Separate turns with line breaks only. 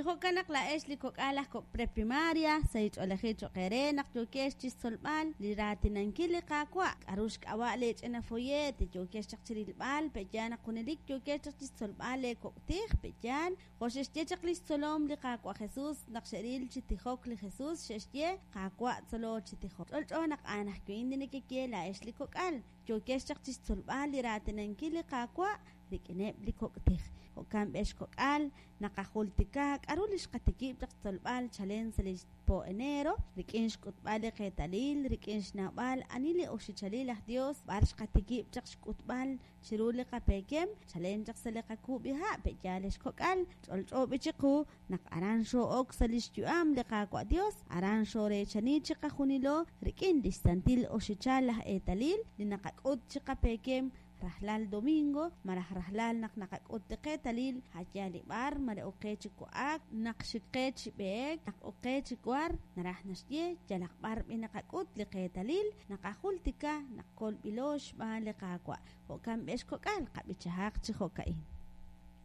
Chi jo'kan naq laa'ex li kok'al aj kok' preprimaria, sahil ch'oolejil cho'q eere naq yookex chi xtzolb'al li raatinankil li Qaawa'. K'aru xk'ab'a' leech'ina folleet yookex chaq chi rilb'al? Pe'yaal naq junelik yookex chaq chi xtzolb'al leekok' tij? Pe'yaal? Jo' xe'xye chaq li xtzolom li Qaawa' Jesús naq xe'ril chi tijok li Jesús, xe'xye, Qaawa', tzolo chi tijok. Ch'olch'o naq a'an ajwi' li nekeye laa'ex li kok'al. Yookex chaq chi xtzolb'al li raatinankil li Qaawa' rik'ineb' li kok' tij. Jo'kan b'ex kok'al, naqajultika k'aru li xqatikib' chaq xtzolb'al chalen sa' li po enero, rik'in xk'utb'al li qeetalil, rik'in xnawb'al ani li oxichalil aj Dios, b'ar xqatikib' chaq xk'utb'al chiru li qapeekem, chalen chaq sa' li qakuub'iha' pe'yaal ex kok'al, ch'olch'o b'i chiqu naq aran xoo'ok sa' li xyu'am li Qaawa' Dios, aran xooreechani chiqajunilo rik'in li xsantil oxichal laj eetalil li naqak'ut chi qapeekem rajlal domingo malaj rajlal naq naqak'ut li qeetalil, a' yaal li b'ar, mare ok qe chi wa'ak, naq xik qe chi b'eek, naq ok qe chi war, naraj naxye yalaq b'ar b'i naqak'ut li qeetalil, naqajultika naq kolb'ilo xb'aan li Qaawa'. Jo'kan b'ex kok'al, qab'ichahaq chi jo'ka'in.